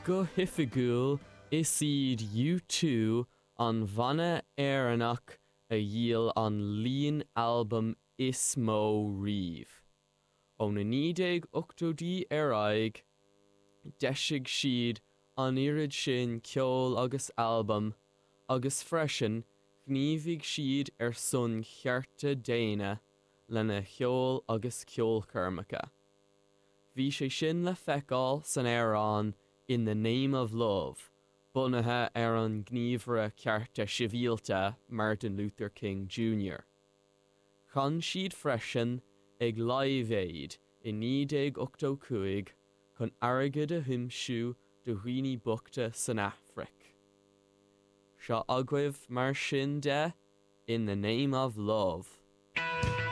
Go hoifigiúil, is iad U2 an banna Éireannach a dhíol an líon albam is mó riamh. Ó na 1980idí ar aghaidh, d'eisigh siad an oiread sin ceoil agus albam, agus freisin ghníomhaigh siad ar son chearta daonna lena cheol agus ceolchoirmeacha. Bhí sé sin le feiceáil san amhrán In the Name of Love, bunaithe ar an ngníomhaire cearta sibhialta Martin Luther King Jr. Chan siad freisin ag Live Aid i 1985 chun airgead a thiomsú do dhaoine bochta san Afraic. Seo agaibh mar sin de In the Name of Love.